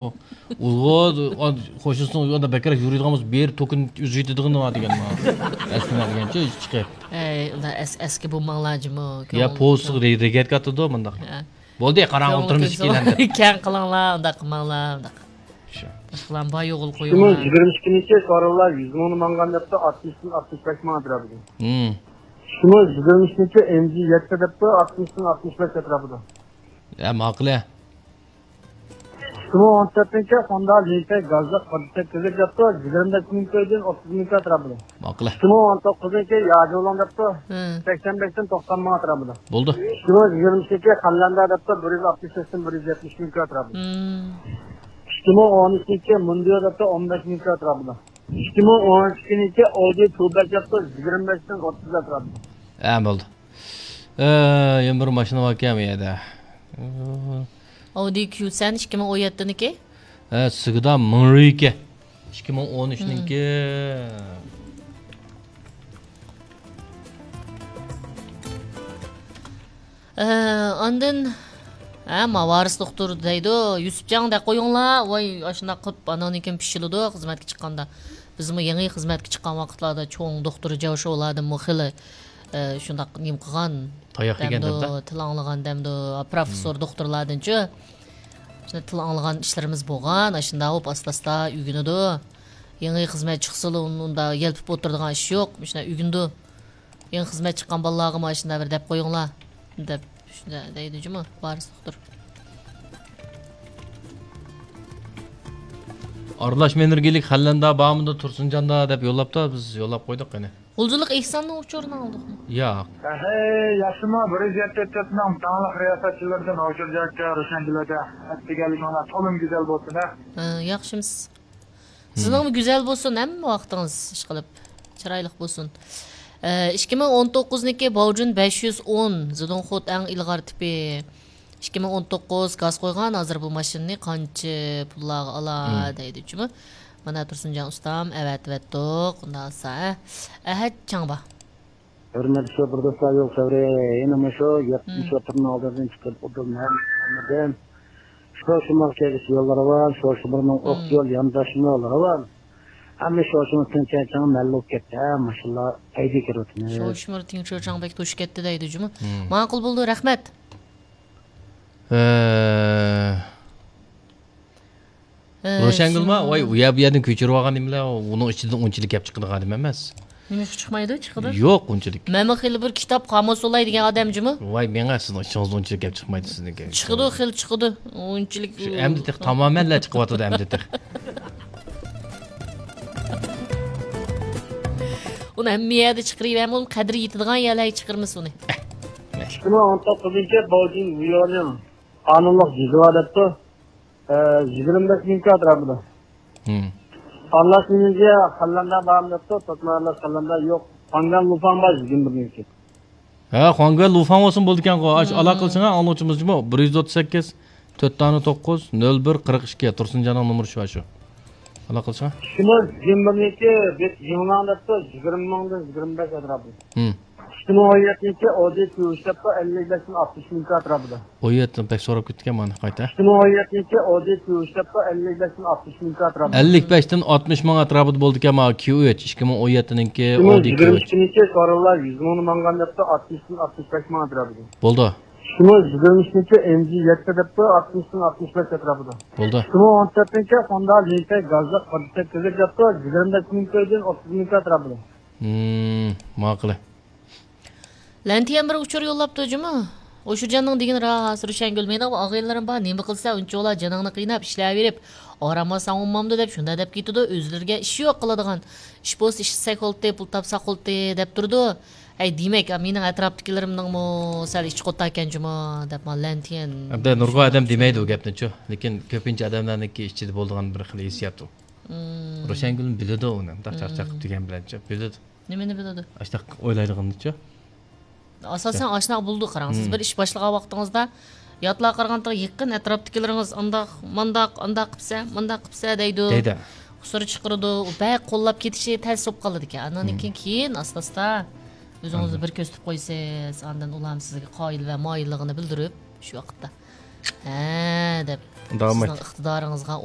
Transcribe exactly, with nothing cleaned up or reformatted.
ئۇلغا، قوشنىسىنىڭ ئۇيىدا بەكرەك يورۇيدىغان بولسا، بېرى توكىنى ئۆزى يېتىدىغىنى بار دېگەن. ئەسلىمە دېگەنچە چىقىپ. ئەي، ئۇنداق ئەس-، ئەسكى بولماڭلار جۇمۇ. يا كۆڭۈل پوۋېستىغا رېگەتكە ئاتىدۇ مۇنداق. ھە. بولدى، قاراڭغۇ كۆڭۈل تۇرمۇش كۆڭۈل. كېلەندى. كەڭ قىلىڭلار، ئۇنداق قىلماڭلار، ئۇنداق. شۇ. باشقىلارنى بار يوغىلا ئىككى مىڭ قويۇڭلار. يىگىرمە ئىككىنچى سورۇنلار يۈز مىڭنى ماڭغان دەپتۇ، ئاتمىشتىن ئاتمىش بەش مىڭ ئەتراپىدا. ھىم. ئىككى مىڭ يىگىرمە ئىككىنچى ئېم جى يەتتە دەپتۇ، ئاتمىشتىن ئاتمىش بەش ئەتراپىدا. ھە، ماقۇل. ئىككى مىڭ ئون تۆتىنچى خوندا لىنتەي گازلىق قىرىق سەككىزلىك دەپتۇ، يىگىرمە بەش مىڭ كويدىن ئوتتۇز مىڭ كوي ئەتراپىدا. ماقۇل. ئىككى مىڭ ئون توققۇزىنچى ياجۇلۇڭ دەپتۇ، ھە. سەكسەن بەشتىن توقسان مىڭ ئەتراپىدا. بولدى. ئىككى مىڭ يىگىرمە ئىككى خەنلەندە دەپتۇ، بىر يۈز ئاتمىش بەشتىن بىر يۈز يەتمىش مىڭ كوي ئەتراپىدا. ھىم. ئىككى مىڭ ئون ئۈچىنچى مۇندىيو دەپتۇ، ئون بەش مىڭ كوي ئەتراپىدا. ئىككى مىڭ ئون ئىككىنچى ئودى كيۇ بەش دەپتۇ، يىگىرمە بەشتىن ئوتتۇز ئەتراپىدا. ھە، بولدى. ئە، يەنە بىر ماشىنا باركەن بۇ يەردە. ئودى كيۇ سەن ئىككى مىڭ ئون يەتتىنىكى؟ ھە، سىگدا مىڭرىكى. ئىككى مىڭ ئون ئۈچنىڭكى. ئە، ئاندىن، ھە، ما ۋارىس دوختۇر دەيدۇ، يۈسۈپجان دەپ قويۇڭلار. ۋاي، ئاشۇنداق قىلىپ، ئاناندىن كېيىن پىشىلىدۇ خىزمەتكە چىققاندا. بىزمۇ يېڭى خىزمەتكە چىققان ۋاقىتلاردا چوڭ دوختۇر جاۋشولاردىنمۇ خېلى، ئە، شۇنداق نېمە قىلغان تاياق يېگەن دەمدۇ، دەمدە؟ تىل ئاڭلىغان دەمدۇ، پروفېسسور، مم، دوختۇرلاردىنچۇ. شۇنداق تىل ئاڭلىغان ئىشلىرىمىز بولغان. ئاشۇنداق بولۇپ ئاستا-ئاستا ئۆگىنىدۇ. يېڭى خىزمەت چىقسىلا ئۇن-، ئۇنداق يەلپۈپ ئولتۇرىدىغان ئىش يوق. شۇنداق ئۆگىنىدۇ. يېڭى خىزمەت چىققان بالىلارغا مانا شۇنداق بىر دەپ قويۇڭلار، دەپ شۇنداق دەيدۇ جۇمۇ، ۋارىس دوختۇر. ئارىلاشما ئېنېرگىيەلىك خەنلەندە بارمىدۇ، تۇرسۇنجاندا دەپ يوللاپتۇ، بىز يوللاپ قويدۇق قېنى. غۇلجىلىق ئېھساننىڭ ئۇچۇرىنى ئالدۇقمۇ؟ ياق. ھەي، ياخشىمۇ؟ بىر يۈز يەتتە تۆتنىڭ داڭلىق رىياسەتچىلىرىدىن ھوشۇرجان ئاكا، روشەنگۈل ھەدە، ئەتىگەنلىكىڭلار تولىمۇ گۈزەل بولسۇن، ھە؟ ھە، ياخشىمىز. سىزنىڭمۇ گۈزەل بولسۇن، ھەممە ۋاقتىڭىز ئىشقىلىپ چىرايلىق بولسۇن. ئە، ئىككى مىڭ ئون توققۇزنىڭكى باۋجۈن بەش يۈز ئون، زىدوڭخوت ئەڭ ئىلغار تىپى. ئىككى مىڭ ئون توققۇز گاز قويغان، ھازىر بۇ ماشىنىنى قانچە پۇللارغا ئالا دەيدۇ جۇمۇ. مانا تۇرسۇنجان ئۇستام ئەۋەتىۋەتتۇق، ئۇنداق بولسا، ھە. ئەھەت چاڭبا. ھۆرمەتلىك شوپۇر دوستلار، يول خەۋىرى يەنە مۇشۇ يەتمىش شوپۇرنىڭ ئالدىدىن چىقىپ ئۇدۇل مەن ئالمىدىم. شۇ شۇماغا كەلگۈسى يول راۋان، شۇ شۇمۇرنىڭ ئوق يول يانداشمۇ راۋان. ئەمما شۇ شۇمۇر تىڭچەچاڭ مەللۇ كەتتى، ھە، ماشىنىلار ھەيدە كىرىۋاتىمىز. شۇ شۇمۇر تىڭچەچاڭ بەك توشۇپ كەتتى دەيدۇ جۇمۇ. ماقۇل بولدى، رەھمەت. ئە، ئە، روشەنگۈلما، ۋاي، ئۇ يەر بۇ يەردىن كۆچۈرۈپ ئالغان نېمىلەر، ئۇنىڭ ئىچىدىن ئۇنچىلىك گەپ چىقىدىغان ئادەم ئەمەس. نېمىشقا چىقمايدۇ؟ چىقىدۇ. يوق، ئۇنچىلىك. مەنمۇ خېلى بىر كىتاب قامۇس بولاي دېگەن ئادەم جۇمۇ. ۋاي، مېڭە، سىزنىڭ ئىچىڭىزدىن ئۇنچىلىك گەپ چىقمايدۇ سىزنىڭكى. چىقىدۇ، خېلى چىقىدۇ. ئۇنچىلىك. شۇ ئەمدى تېخى تامامەنلا چىقىۋاتىدۇ ئەمدى تېخى. ئۇنى ھەممە يەردە چىقىرىۋەرمە، ئۇنىڭ قەدرى يېتىدىغان يەرلەرگە چىقىرمىسا ئۇنى. ئىككى مىڭ ئون توققۇزىنچى باۋجىن ۋىيونىڭ قانۇنلۇق جېزا دەپتۇ. ئە، يىگىرمە بەش مىڭ كوي ئەتراپىدا. ھىم. ئارىلاش مېنېجيە خەنلەندە بارمۇ دەپتۇ، توتما ئارىلاش خەنلەندە يوق. خۇاڭگەن لۇفاڭ بار، يىگىرمە بىر مىڭ كوي. ھە، خۇاڭگەن لۇفاڭ بولسۇن بولىدىكەنغۇ. ئاش، ئالاقە قىلسىڭە ئاڭلىغۇچىمىزچىمۇ، بىر يۈز ئوتتۇز سەككىز، تۆت دانە توققۇز، نۆل بىر، قىرىق ئىككى، تۇرسۇنجاننىڭ نومۇرى شۇ، شۇ. ئالاقە قىلسىڭە. شۇمۇ يىگىرمە بىر مىڭ كوي، بېت يىڭلاڭ دەپتۇ، يىگىرمە مىڭدىن يىگىرمە بەش ئەتراپى. ھىم. ئىككى مىڭ ئون يەتتىنچى ئودى كيۇ ئۈچ دەپتۇ، ئەللىك بەشتىن ئاتمىش مىڭ كوي ئەتراپىدا. ئون يەتتە بەك سوراپ كەتكەن مانا قايتا. ئىككى مىڭ ئون يەتتىنچى ئودى كيۇ ئۈچ دەپتۇ، ئەللىك بەشتىن ئاتمىش مىڭ كوي ئەتراپىدا. ئەللىك بەشتىن ئاتمىش مىڭ ئەتراپىدا بولىدىكەن مانا كيۇ ئۈچ، ئىككى مىڭ ئون يەتتىنىڭكى ئىككى مىڭ ئودى كيۇ ئۈچ. يىگىرمە ئىككىنچى سورۇنلار يۈز مىڭنى ماڭغان دەپتۇ، ئاتمىشتىن ئاتمىش بەش مىڭ ئەتراپىدا. بولدى. ئىككى مىڭ يىگىرمە ئىككىنچى ئېم جى يەتتە دەپتۇ، ئاتمىشتىن ئاتمىش بەش ئەتراپىدا. بولدى. ئىككى مىڭ ئون تۆتىنچى خوندا لىنتەي گازلىق قىرىق سەككىزلىك دەپتۇ، يىگىرمە بەش مىڭ كويدىن ئوتتۇز مىڭ كوي ئەتراپىدا. ھىم، ماقۇل. لەنتىيەن بىر ئۇچۇر يوللاپتۇ جۇمۇ. ئوشۇرجاننىڭ دېگىنى راست، روشەنگۈل، مېنىڭ ئاغىنىلىرىم بار، نېمە قىلسا ئۇنچىۋالا جېنىڭنى قىيناپ ئىشلەۋېرىپ، ئارام ئالساڭ ئۇنىمامدۇ دەپ شۇنداق دەپ كېتىدۇ. ئۆزلىرىگە ئىش يوق قىلىدىغان. ئىش بولسا ئىشلىسەك بولدى، پۇل تاپساق بولدى دەپ تۇرىدۇ. ئەي دېمەك، مېنىڭ ئەتراپتىكىلىرىمنىڭمۇ سەل ئىچى قوتاركەنجۇمۇ دەپ مانا لەنتىيەن. ئەمدى نۇرغۇن ئادەم دېمەيدۇ ئۇ گەپنىچۇ. لېكىن كۆپىنچە ئادەملەرنىڭكى ئىچىدە بولىدىغان بىر خىل ھېسسىيات ئۇ. مم. روشەنگۈلمۇ بىلىدۇ ئۇنى. مۇنداق چاقچاق قىلىپ دېگەن بىلەنچۇ بىلىدۇ. نېمىنى بىلىدۇ؟ ئاشۇنداق ئويلايدىغىنىچۇ. ئاساسەن ئاشۇنداق بولىدۇ، قاراڭ. سىز بىر ئىش باشلىغان ۋاقتىڭىزدا ياتلار قارىغانتىغا يېقىن ئەتراپتىكىلىرىڭىز ئانداق، مانداق، ئانداق قىپسە، مانداق قىپسە دەيدۇ. دەيدۇ. قۇسۇر چىقىرىدۇ. ئۇ بەك قوللاپ كېتىشى تەس بولۇپ قالىدىكەن. ئاندىن كېيىن، كېيىن ئاستا-ئاستا ئۆزىڭىزنى بىر كۆرسىتىپ قويىسىز. ئاندىن ئۇلار سىزگە قايىل ۋە مايىللىقىنى بىلدۈرۈپ، شۇ ۋاقىتتا ھە دەپ داۋام سىزنىڭ ئېيت. ئىقتىدارىڭىزغا